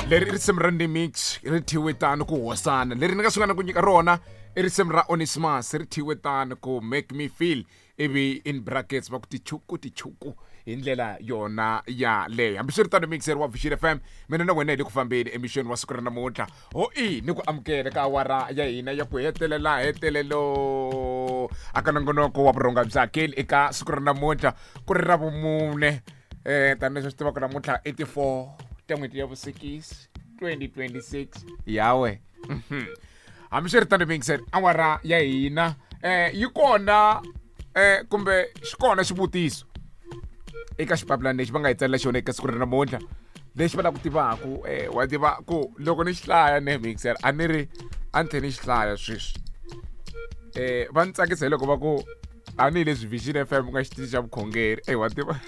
Leri i risimu ra Ndimix ri thyiwe tano ku hosana. Leri ni nga sungula ku nyika rona i risimu ra Onesimus ri thyiwe tano ku make me feel ivi in brackets va ku tichuku tichuku hi ndlela yona yaleyo. Hambiswiritano mixer wa Vision FM mina na wena hi le ku fambeni emixweni wa siku ra namuntlha. Ho i ni ku amukela ka awara ya hina ya ku hetelela hetelelo aka nongonoko wa vurhonga bya keli eka siku ra namuntlha ku ri ra vumune tanihileswi swi tivaka namuntlha i ti-4 ta n'hweti ya vusikisi 2026 yawe. Hambiswiritano mixer awara ya hina yi kona kumbe xi kona xivutiso eka xipapilani lexi va nga hi tsalela xona eka siku ra namuntlha lexi va lava ku tivaku wa tiva ku loko ni xi hlaya ne mixer a ni ri a ni tlhe ni xi hlaya sweswi va ni tsakisa hi loko va ku tanihileswi Vision FM ku nga xitichi xa vukhongeri eyi wa tiva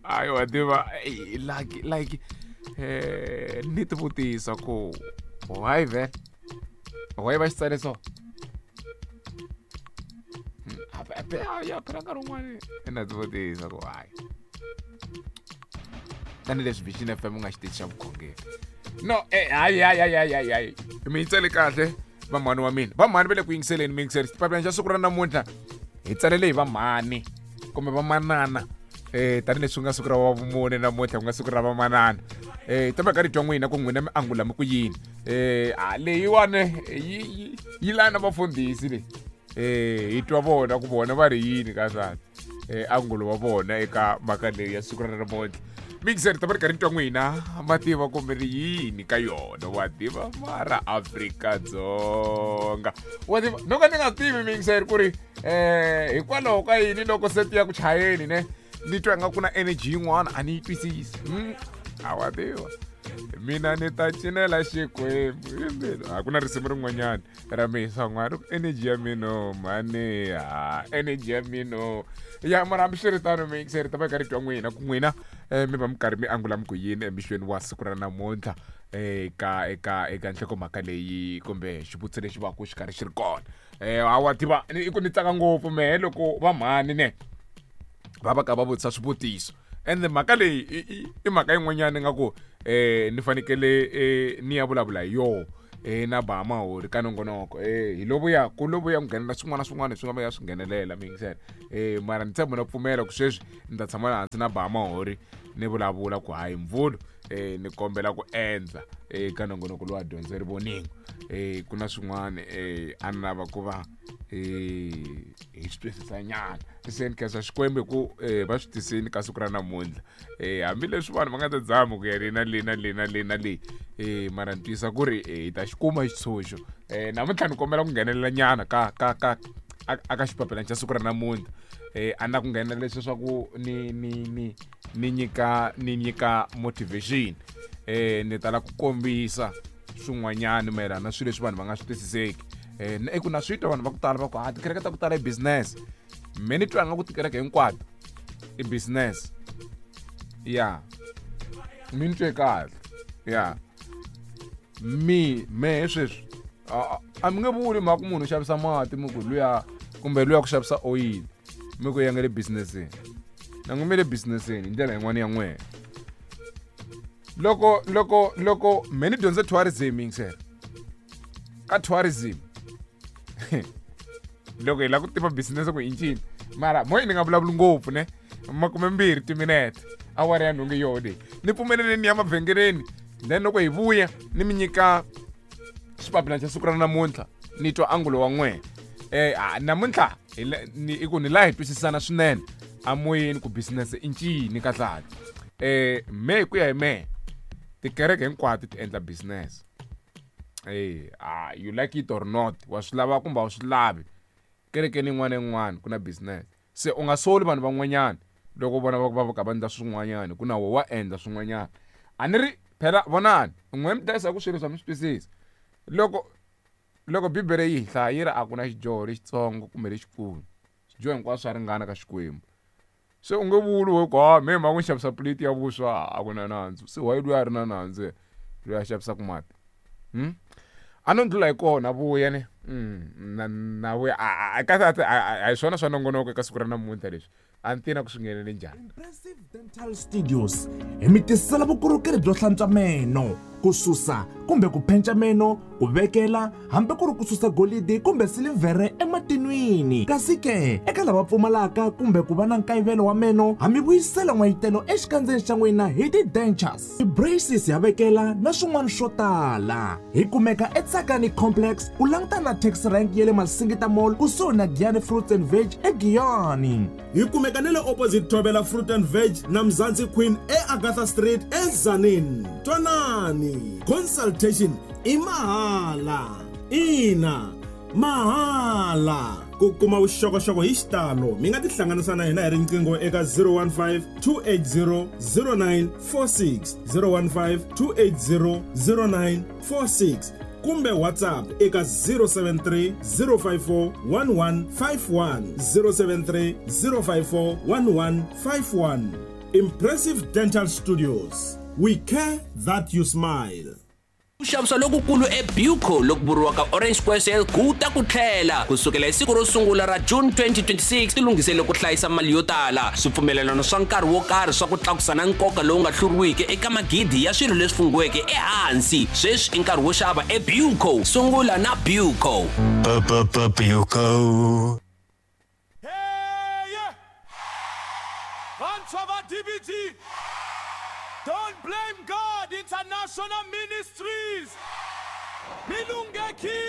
ayi wa tiva like like ni ti vutisa ku why vhele why va xi tsale so ya phela nkarhi wun'wani na ti vutisa ku why tanihileswi Vision FM ku nga xitichi xa vukhongeri no hayi hayi hayi hayi hayi mi yi tsale kahle vamhani wa mina vamhani va le ku yingiseleni mi yingiseri xipapilani xa siku ra namuntlha hi tsalele hi vamhani kumbe vamanana tanihileswi ku nga siku ra wa vumune namuntlha ku nga siku ra vamanana ta va ka ri twa n'wina ku n'wina mi angula mi ku yini a leyiwani yi yi lana vafundhisi leyi hi twa vona ku vona va ri yini ka swani angulo wa vona eka mhaka leyi ya siku ra namuntlha mixer ta va ri karhi twa n'wina ma tiva kumbe ri yini ka yona wa tiva mara Afrika-Dzonga wa tiva no ka ni nga tivi mixer ku ri hikwalaho ka yini loko se ti ya ku chayeni ne ni twa nga ku na energy yin'wana a ni yi twisisi a wa tiva mina ni ta cinela xikwembu hi mbilu a ku na risimu rin'wanyana ra misa n'wana ri energy ya mino mhani ha energy ya mino ya mara hambiswiritano mixer ta va ka ri twa n'wina ku n'wina mi va mi karhi mi angula mi ku yini emixweni wa siku ra namuntlha eka eka eka nhlokomhaka leyi kumbe xivutiso lexi va ku xi karhi xi ri kona hawa tiva i ku ni tsaka ngopfu mehe loko va mhani ne va va ka va vutisa swivutiso ende mhaka leyi i mhaka yin'wanyana nga ku ni fanekele ni ya vulavula hi yoho na ba mahori ka nongonoko hi lovuya ku lovuya ku nghenelela swin'wana na swin'wana leswi nga va ya swi nghenelela mi yingisela mara ni tshemba na pfumela ku sweswi ni ta tshama hansi na ba mahori ni vulavula ku hayi mvulu ni kombela ku endla ka nongonoko lowa dyondzo ri voningo ku na swin'wana a ni lava ku va hi swi twisisa nyana se ni khensa Xikwembu hi ku va swi tisini ka siku ra namuntlha hambileswi vanhu va nga ta zama ku ya le na le na le na le na le mara ni tiyisa ku ri hi ta xi kuma xitshunxo namuntlha ni kombela ku nghenelela nyana ka ka ka a ka xipapilani xa siku ra namuntlha a ni la ku nghenelela leswi swa ku ni ni ni ni nyika ni nyika motivation ni tala ku kombisa swin'wanyana mayelana na swilo leswi vanhu va nga swi twisiseki i ku na swi twa vanhu va ku tala va ku ha tikereke ta ku tala i business me ni twa nga ku tikereke hinkwato i business ya mi ni twe kahle ya mi mehe sweswi a mi nge vuli mhaka munhu u xavisa mati mi ku luya kumbe luya ku xavisa oyili mi ku ya nga le businesseni na n'wi mi le businesseni hi ndlela yin'wana ya n'wehe loko loko loko me ni dyondze tourism yingisela ka tourism loko hi lava ku tiva business ku i ncini mara moyi ni nga vulavuli ngopfu ne 20 timinete awara ya nhungu yoho leyi ni pfumeleleni ni ya mavhengeleni then loko hi vuya ni mi nyika xipapilani xa siku ra namuntlha ni twa angulo wa n'wehe namuntlha i ku ni laha hi twisisana swinene amoyeni ku business i ncini kahlekahle me hi ku ya hi mehe tikereke hinkwato ti endla business you like it or not wa swi lava kumbe a wu swi lavi kerekeni yin'wana na yin'wana ku na business se u nga soli vanhu van'wanyana loko vona va va ka va endla swin'wanyana ku na wo wa endla swin'wanyana a ni ri phela vonani n'we mi dlayisa ku swilo leswi a mi swi twisisi loko loko bibele yi hi hlaya yi ri a ku na xidyoho lexitsongo kumbe lexikulu swidyoho hinkwaswo swa ringana ka Xikwembu se u nge vuli we ku ha me mhaka ku xavisa plate ya vuswa a ku na nandzu se why luya a ri na nandzu loyi a xavisaka mati a no ndlula hi kona vuya ne na na vuya a kahle a hi swona swa nongonoko eka siku ra namuntlha leswi. A ni tivi na ku swi nghenele njhani. Impressive Dental Studios hi mi tisela vukorhokeri byo hlantswa meno, ku susa kumbe ku phenca meno, ku vekela hambi ku ri ku susa golidi kumbe silivhere ematinwini. Kasi ke, eka lava pfumalaka kumbe ku va na nkayivelo wa meno, ha mi vuyisela n'wayitelo exikandzeni xa n'wina hi ti-dentures, ti-braces ha vekela na swin'wana swo tala. Hi kumeka eTsakani Complex ku langutana na taxi rank ya le Masingita Mall kusuhi na Giyani Fruits and Veg eGiyani. Hi kumeka ni le opposite Thobela Fruit and Veg na Mzansi Queen eAgatha Street eTzaneen. Twanani, consultation i mahala. Ina, mahala. Ku kuma vuxokoxoko hi xitalo mi nga tihlanganisa na hina hi riqingho eka 015 280 0946 015 280 0946 kumbe WhatsApp eka 073 054 1151 073 054 1151. Impressive Dental Studios. We care that you smile. Ku xavisa lokukulu eBuco loku vuriwaka Orange Square Sale ku ta ku tlhela ku sukela hi siku ro sungula ra June 2026. Tilunghisele ku hlayisa mali yo tala, swipfumelelano swa nkarhi wo karhi swa ku tlakusa na nkoka lowu nga hluriwiki eka magidi ya swilo leswi funghiweke ehansi. Sweswi i nkarhi wo xava eBuco. Sungula na Buco. Buco. Vantshwa va DBG, Don't Blame God International Ministries, mi lunghekile.